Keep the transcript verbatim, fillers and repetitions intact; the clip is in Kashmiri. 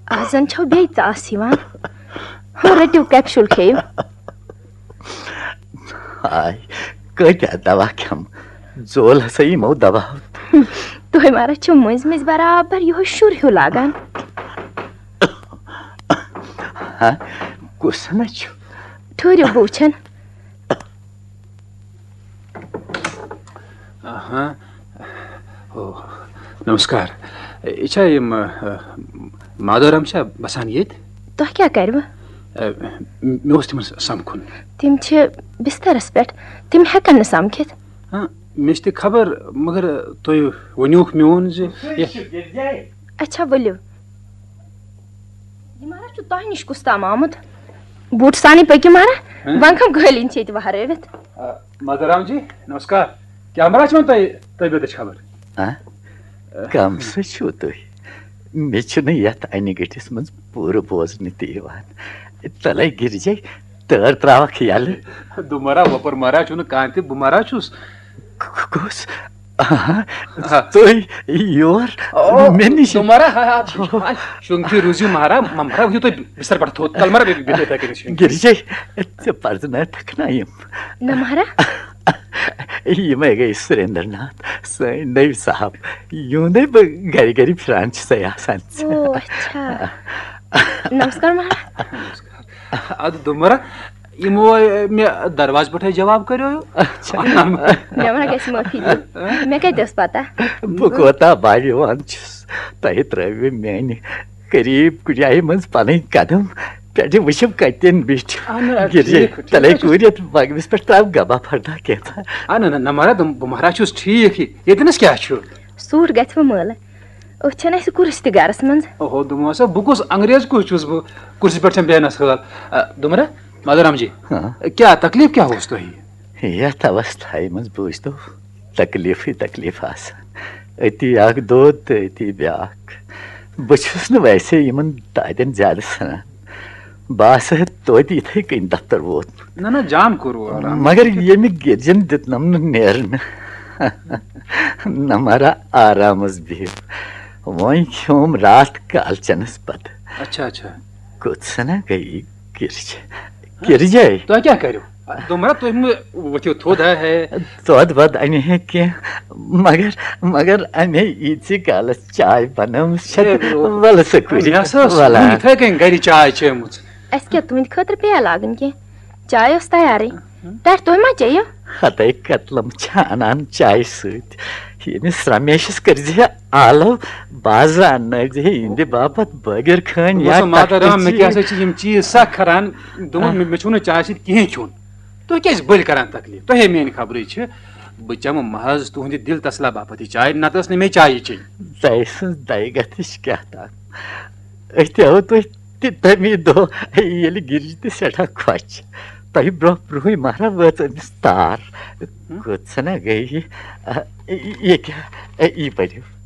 آز زن چھو بیٚیہِ ژاس یِوان۔ ہُہ رٔٹِو، capsule کھیٚیِو۔ ہاے، کۭتیٛاہ دوا کھٮ۪م؟ زول ہسا یِمو دواہو۔ تُہۍ مارا چھِو مٔنٛزۍ مٔنٛزۍ برابر یِہوٚے شُر ہیوٗ لاگان۔ ہا، کُس ہنا چھُ؟ ٹھٔہرِو، بہٕ وٕچھن۔ آہا۔ او، نمسکار۔ یہِ چھا یِم، ٲ، مادورام چھا بسان ییٚتہِ؟ تۄہہِ کیٛاہ کَرِوٕ؟ ٲ، مےٚ اوس تِمن سمکھُن۔ تِم چھِ بسترس پٮ۪ٹھ، تِم ہٮ۪کن نہٕ سمکھِتھ۔ ہاں، مےٚ چھِ تہِ خبر، مگر تُہۍ ؤنِوکھ میون زِ یہِ اچھا، ؤلِو۔ یہِ مہراز چھُ تۄہہِ نِش کُس تام آمُت؟ بوٗٹہٕ سانٕے پٔکِو مہراز، ہاں؟ وۄنۍ کم قٲلیٖن چھِ ییٚتہِ وہرٲوِتھ؟ آ، مادورام جی، نمسکار۔ کیٛاہ مہراز چھِ وۄنۍ تۄہہِ طبیعتٕچ خبر؟ آ؟ کم سا چھِو تُہۍ؟ مےٚ چھُنہٕ یتھ انہِ گٔٹِس منٛز پوٗرٕ بوزنہٕ تہِ یِوان۔ تلے گِرجے، تٲر تراوکھ یلہٕ۔ دوٚپمَرا وۄپر مہراز چھُنہٕ کانٛہہ تہِ، بہٕ مہراز چھُس۔ ک-، کُس؟ آہا، آ۔ تُہۍ یور؟ او، مےٚ نِش؟ تُمہارا، ہا، ہا، شونگی روٗزِو مہرا، مہرا ؤتھِو تُہۍ بستر پٮ۪ٹھ تھوٚد۔ تَل مہرا، بیٚیہِ، بیٚیہِ یِتھَے کٔنۍ شونگی۔ گِرجے، ژےٚ پرزنٲوتھکھ نا یِم؟ نہ مہرا۔ یِمے گٔے سُریندر ناتھ، سٲنۍ نٔوۍ صاحب۔ یِہُنٛدے بہٕ گرِ گرِ پھِران چھُسے آسان۔ او، اچھا۔ نمسکار مہرا۔ اَدٕ دوٚپمَرا، یِمو مےٚ دروازٕ پٮ۪ٹھَے جواب کریو۔ اچھا۔ مےٚ وَنان گژھِ معٲفی دیُن۔ مےٚ کَتہِ ٲس پَتہ؟ بہٕ کوتاہ بھاگیوان چھُس، تۄہہِ ترٛٲوِو میٛانہِ قریٖب کُنہِ جایہِ منٛز پَنٕنۍ قدم، پٮ۪ٹھٕ وٕچھِو کَتٮ۪ن بیٖٹھِو۔ اَہَن حظ، گِرجے، ٹھیٖک، ٹھیٖک تَلے حظ چھُ۔ کوٗرِتھ بَگمِس پٮ۪ٹھ ترٛاو گبا پھردہ کینٛژھا۔ اَہَن حظ، نہ، نہ، مہراز، بہٕ مہراز چھُس ٹھیٖک۔ ییٚتہِ نَس کیٛاہ چھُ؟ سوٗٹ گژھِ وۄنۍ مٲلہٕ۔ أتھۍ چھَنہٕ اَسہِ کُرسی تہِ گَرَس منٛز۔ اوہو، دوٚپمو سا، بہٕ کُس انگریز کُس چھُس بہٕ، کُرسی پٮ۪ٹھ چھَم بیٚہنَس حٲل۔ آ، دوٚپمَرا، مادورام جی، ہاں؟ کیٛاہ تکلیٖف کیٛاہ اوس تۄہہِ؟ یَتھ اوستھایہِ منٛز بوٗزتو تکلیٖفٕے تکلیٖف آسان۔ أتی اَکھ دود تہٕ أتی بیٛاکھ۔ بہٕ چھُس نہٕ ویسے یِمَن دادٮ۪ن زیادٕ سَنان۔ بہٕ آسہٕ ہے توتہِ یِتھَے کٔنۍ دفتر ووتمُت۔ نہ، نہ، جان کوٚروٕ آرام۔ مگر ییٚمہِ گِرجَن دیُتنَم نہٕ نیرنہٕ۔ نہ مہرا، آرامس بِہِو۔ وۄنۍ کھیوم راتھ کالچنس بتہٕ۔ اچھا، اچھا۔ کوٚت سنا گٔیی گِرجے؟ گِرجے؟ تۄہہِ کیٛاہ کٔرِو؟ دوٚپمَرا، تُہۍ مہٕ ؤتھِو تھوٚد، ہے، ہے۔ دۄد وۄد اَنہِ ہے کینٛہہ، مگر، مگر اَمے ییٖتِسٕے کالس چاے بنٲومٕژ چھےٚ۔ ہے، تہٕ وَلہٕ سا کُرِ، مےٚ ہسا ٲس وَلہٕ۔ وُنہِ یِتھَے کٔنۍ گرِ چاے چیمٕژ۔ اَسہِ کیٛاہ تُہٕنٛدِ خٲطرٕ پیالہٕ لاگٕنۍ کینٛہہ؟ چاے ٲس تیارٕے۔ پٮ۪ٹھ تُہۍ ما چیٚیِو؟ ہتے کتلم چھا انان چایہِ سۭتۍ؟ ییٚمِس رمیشس کٔرزِ آلو، بازرٕ اننٲوزِ یِہنٛدِ باپتھ بٲگِر خٲنۍ یا دوٚپمَس، مادر ٹکھٹہٕ رام، مےٚ کیٛاہ چیٖز۔ سا چھِ یِم چیٖز سخ کران؟ دوٚپُن، آہ۔ مےٚ، مےٚ چھُو نہٕ چایہِ سۭتۍ کِہیٖنۍ کھیوٚن۔ تُہۍ کیٛازِ بٔلۍ کران تکلیف؟ تۄہے میٛانہِ خبرٕے چھِ۔ بہٕ چمہٕ محض تُہنٛدِ دِل تسلا باپتھ یہِ چاے، نتہٕ ٲس نہٕ مےٚ چایہِ چیٚنۍ۔ دَیہِ سٕنٛز دَیہِ گَتھٕچ کیٛاہ تام۔ أسۍ تہِ آو تُہۍ تہِ تَمی دۄہ، ییٚلہِ گِرجہِ تہِ سٮ۪ٹھاہ خۄش۔ تۄہہِ برٛونٛہہ برٛونٛہٕے مہرا وٲژ أمِس تار۔ ہُم؟ کۭژاہ نا گٔیہِ یہِ؟ آ، یہِ کیٛاہ؟ یہِ پٔرِو۔